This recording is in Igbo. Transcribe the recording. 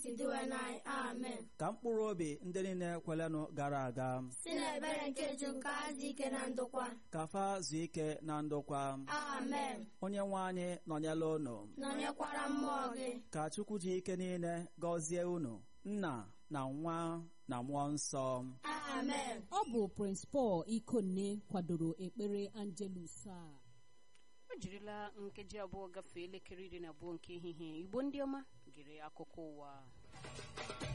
Kristi dịwe n'anyị. Amen. Ka mkpụrụ obi ndị niile kwelenụ gara aga si n'ebere nke Chukwu ka ha dị ike na ndokwa. Ka fa zuo ike na ndokwa. Amen. Onye nwe anyị nọnyela unu. Nọnyekwara mmụọ gị. Ka Chukwu ji ike niile gọzie unu, Nna na Nwa na Mmụọ Nsọ. Amen. Ọ bụ Prince Paul Ikonne kwadoro ekpere Angelus a. O jirila nkeji 2 gafee elekere 12 nke ehihie. Igbo ndị ọma gere akụkọ ụwa.